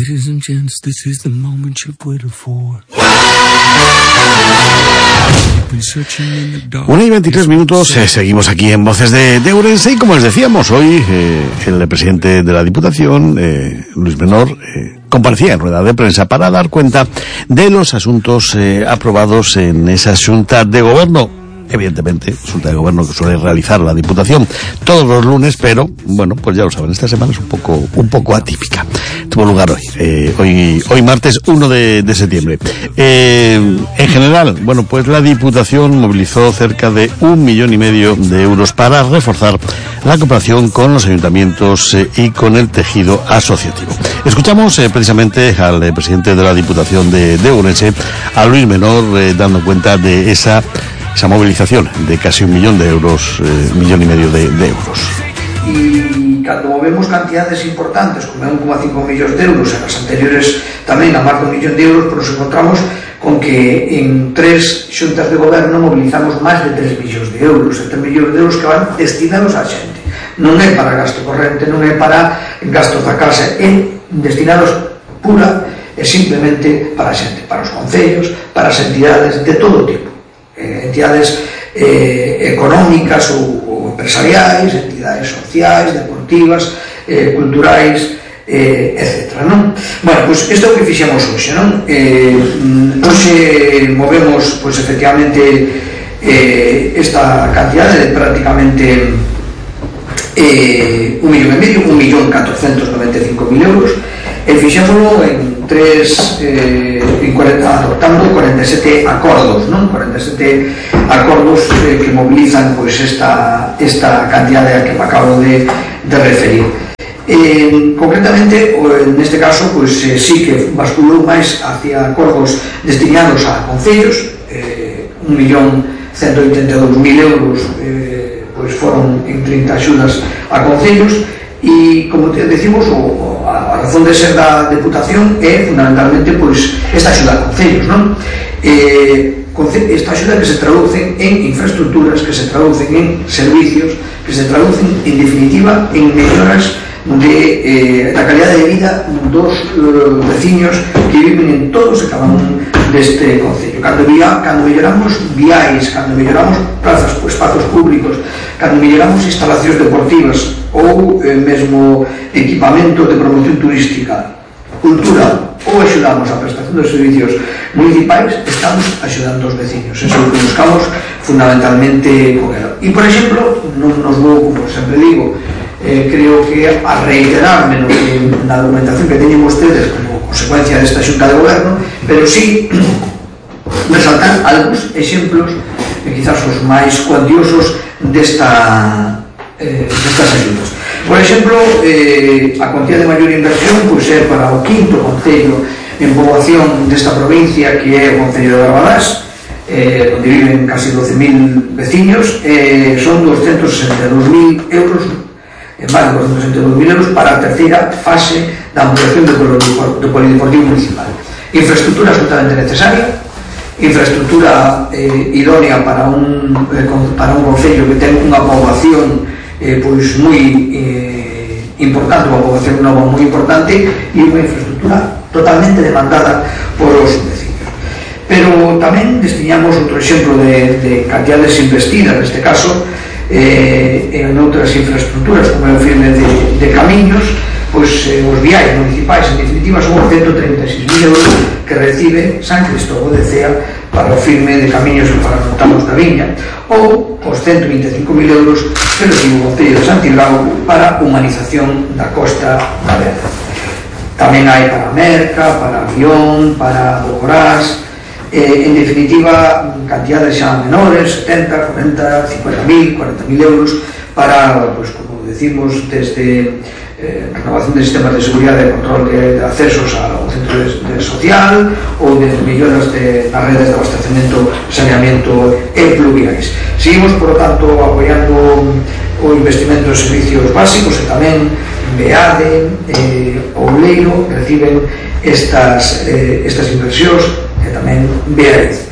Ladies and gents, this is the moment you've waited for. 1:23, seguimos aquí en Voces de Ourense y como les decíamos, hoy el presidente de la Diputación, Luis Menor, comparecía en rueda de prensa para dar cuenta de los asuntos aprobados en esa Xunta de Gobierno. Evidentemente, Xunta de Gobierno que suele realizar la Diputación todos los lunes, pero bueno, pues ya lo saben, esta semana es un poco atípica. Tuvo lugar hoy martes 1 de septiembre. En general, bueno, pues la Diputación movilizó cerca de 1,5 millones de euros para reforzar la cooperación con los ayuntamientos y con el tejido asociativo. Escuchamos precisamente al presidente de la Diputación de Ourense, a Luis Menor, dando cuenta de esa movilización de casi 1 millón de euros, 1,5 millones de euros. Y cuando movemos cantidades importantes, como 1,5 millones de euros, en las anteriores también a más de 1 millón de euros, pues nos encontramos con que en 3 xuntas de goberno movilizamos máis de 3 millóns de euros, 3 millóns de euros que van destinados á xente. Non é para gasto corrente, non é para gastos da casa, é destinados pura e simplemente para a xente, para os concellos, para as entidades de todo tipo. Entidades económicas ou empresariais, entidades sociais, deportivas, culturais, etc. Non? Bueno, pois isto é o que fixemos hoxe, non? Hoxe movemos, pois efectivamente, esta cantidade de prácticamente 1,5 millón, 1.495.000 euros, e fixémolo en adoptando 47 acordos, non? 47 acordos que movilizan pois esta cantidade a que me acabo de referir. Concretamente, neste caso, pois sí que basculou máis hacia acordos destinados a concellos, 1.182.000 euros pois foron en 30 axudas a concellos, e como decimos, a razón de ser da Deputación é fundamentalmente pois esta axuda a concellos, non? Esta axuda que se traducen en infraestructuras, que se traducen en servicios, que se traducen en definitiva en melloras da calidade de vida dos veciños que viven en todos e cada un deste concello. Cando melloramos viais, cando melloramos plazas, espazos públicos, cando melloramos instalacións deportivas ou mesmo equipamento de promoción turística, cultural, ou axudamos a prestación dos servicios municipais, estamos axudando os veciños. Eso é o que buscamos fundamentalmente con ela. E, por exemplo, non nos vou, como sempre digo, creo que a reiterarme na documentación que teñen ustedes como consecuencia desta Xunta de Goberno, pero sí resaltar algúns exemplos quizás os máis cuantiosos destas axudas. Por exemplo, a cuantía de maior inversión pois é para o 5º concello en poboación desta provincia, que é o concello de Barbadás, onde viven casi 12.000 veciños, son 262.000 euros, máis de 262.000 euros para a terceira fase da ampliación do polideportivo municipal. Infraestructura absolutamente necesaria, infraestructura idónea para un concello que ten unha poboación pois moi importante, unha poboación nova moi importante, e unha infraestructura totalmente demandada por os vecinos. Pero tamén destinamos outro exemplo de cantidades investidas, neste caso en outras infraestructuras, como é o firme de camiños, pois os viais municipais, en definitiva, son os 136.000 euros que recibe San Cristóbal de Cea para o firme de camiños para Montanos da Viña, ou os 125.000 euros que recibe o Concello de Santiago para humanización da Costa da Vela. Tamén hai para Merca, para Avión, para Bogorás, en definitiva, cantidades xa menores, 70, 40, 50.000, 40.000 euros para, pues, como decimos, desde renovación de sistemas de seguridade e control de accesos ao centro social, ou de melloras nas redes de abastecemento, saneamento e pluviais. Seguimos, por lo tanto, apoiando o investimento en servicios básicos, e tamén BEADE, Ouleiro, reciben estas inversións, e tamén BEADE.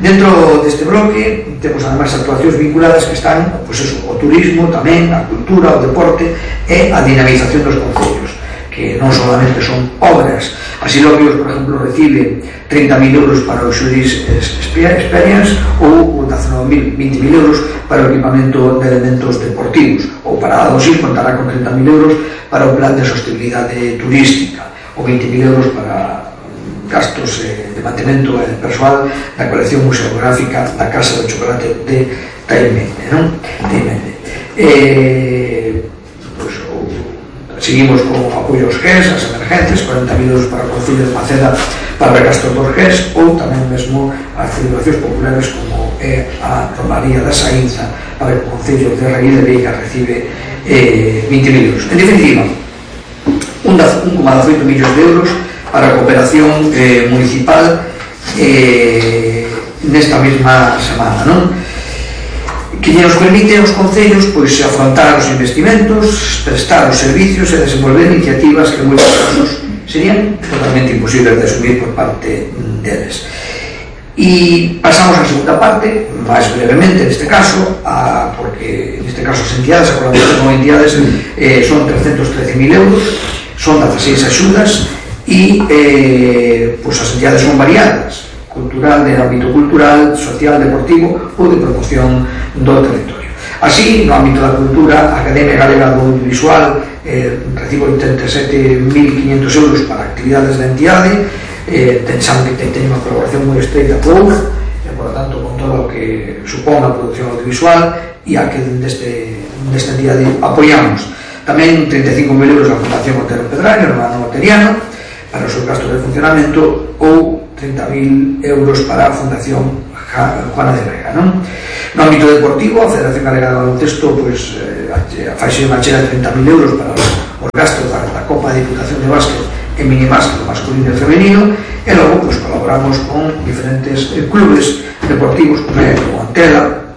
Dentro deste bloque temos ademais actuacións vinculadas que están, pois eso, o turismo tamén, a cultura, o deporte e a dinamización dos concellos, que que non solamente son obras. Así Lobios, por exemplo, recibe 30.000 euros para o Xuris Experience ou 19.000, 20.000 euros para o equipamento de elementos deportivos, ou para Adosil contará con 30.000 euros para o plan de sostenibilidade turística, ou 20.000 euros para gastos de mantemento persoal da colección museográfica da Casa do Chocolate de Taimende, non? Pues, seguimos con apoio aos GES, as emergencias, 40.000 euros para o Concello de Maceda para o recastro dos GES, ou tamén mesmo as celebracións populares como é a Romaría da Saínza para o Concello de Raí de Veiga recibe 20.000 euros. En definitiva, 1,18 millóns de euros para a cooperación municipal nesta mesma semana, non? Que nos permite aos concellos pois afrontar os investimentos, prestar os servicios e desenvolver iniciativas que en moitos casos serían totalmente imposibles de asumir por parte deles. E pasamos á segunda parte, máis brevemente neste caso, porque neste caso as entidades, a colaboración con entidades son 313.000 euros, son 16 axudas e pois as entidades son variadas, cultural, de ámbito cultural, social, deportivo ou de promoción do territorio. Así, no ámbito da cultura, a Academia Galega do Audiovisual recibe 87.500 euros para actividades da entidade, saben que ten unha colaboración moi estreita con UF, e, por lo tanto, con todo o que supón a produción audiovisual e a que desta entidade apoiamos. Tamén 35.000 euros a Fundación Otero Pedrario, Romano Oteriano, para o seu gasto de funcionamento, ou 30.000 euros para a Fundación Juana de Vega, non? No ámbito deportivo, a Federación Galega de Baloncesto faixe unha chela de 30.000 euros para os gastos da Copa de Diputación de Básquet e minibásquet masculino e femenino, e logo colaboramos con diferentes clubes deportivos como é o Antela,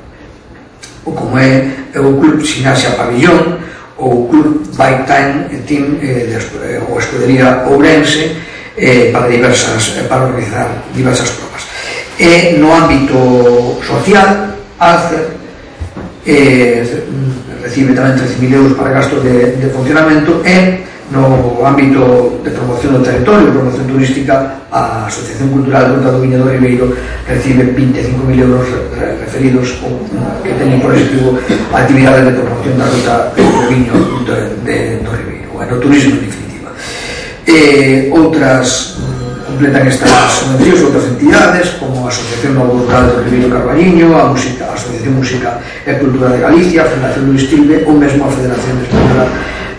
ou como é o Club Ximnasia Pabillón, ou o Club Bike Time Team ou a Escudería Ourense, para organizar diversas provas. E no ámbito social, Alcer recibe tamén 13.000 euros para gastos de funcionamento, e no ámbito de promoción do territorio, promoción turística, a Asociación Cultural Ruta do Viño do Ribeiro recibe 25.000 euros referidos que teñen por objetivo a actividade de promoción da ruta do viño do Ribeiro, o enoturismo en definitiva. Outras completan estas subvencións outras entidades como a Asociación Novo Rural do Ribeiro Carballiño, a Asociación Música e Cultura de Galicia, a Fundación Luis Tilbe ou mesmo a Federación Española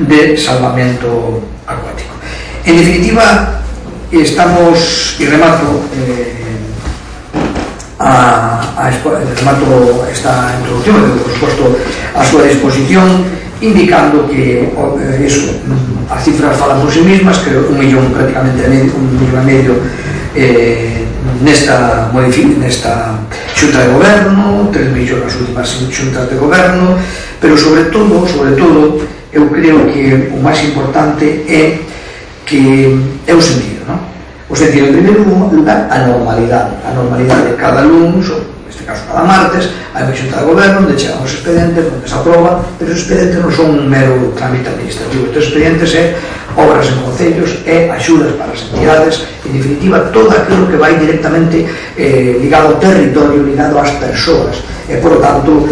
de Salvamento Acuático. En definitiva, estamos, e remato esta introducción, por suposto, a súa disposición, indicando que as cifras falan por sí mismas, que 1 millón prácticamente $1,5 millón nesta xunta de goberno, 3 millóns nas últimas xuntas de goberno, pero sobre todo eu creo que o máis importante é o sentido, non? O sentido, en primeiro lugar, a normalidade. Cada lunes, neste caso cada martes, hai unha xunta de goberno onde chegan os expedientes, onde se aproba, pero os expedientes non son un mero trámite administrativo. Estes expedientes é obras en concellos, é axudas para as entidades, en definitiva, todo aquilo que vai directamente ligado ao territorio, ligado ás persoas, e, por lo tanto,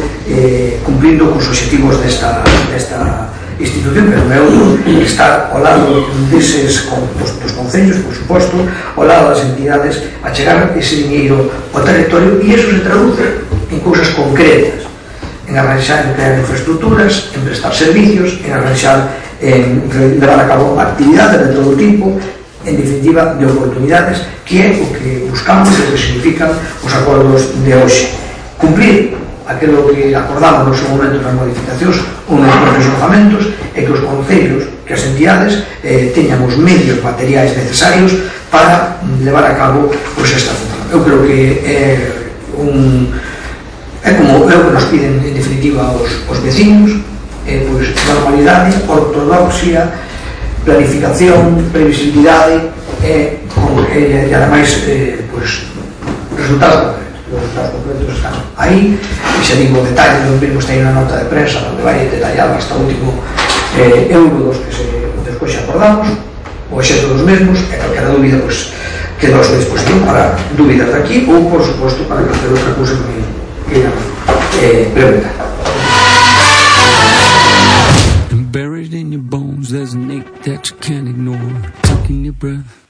cumplindo cos objetivos desta institución, que non é outro, estar ao lado dos concellos, por suposto, ao lado das entidades, a chegar ese diñeiro ao territorio, e iso se traduce en cousas concretas, en arranxar, en crear infraestructuras, en prestar servicios, en arranxar, en levar a cabo actividades de todo tipo, en definitiva, de oportunidades, que é o que buscamos e o que significan os acordos de hoxe. Cumplir aquilo que acordamos no seu momento nas modificacións ou nos propios orzamentos, é que os concellos, que as entidades teñan os medios materiais necesarios para levar a cabo esta función. Eu creo que é como é o que nos piden en definitiva os vecinos, normalidade, ortodoxia, planificación, previsibilidade e ademais resultados concretos. Os resultados concretos están aí, e xa digo o detalle, non vimos aí unha nota de prensa onde vai detallado hasta o último euro dos que despois xa acordamos. o exerto dos mesmos, e calquera dúbida, pois, quedo a súa disposición para dúbidas de aquí ou, por suposto, para calquera outra cousa que queiran preguntar. Buried in your bones, there's an ache that you can't ignore. Taking your breath,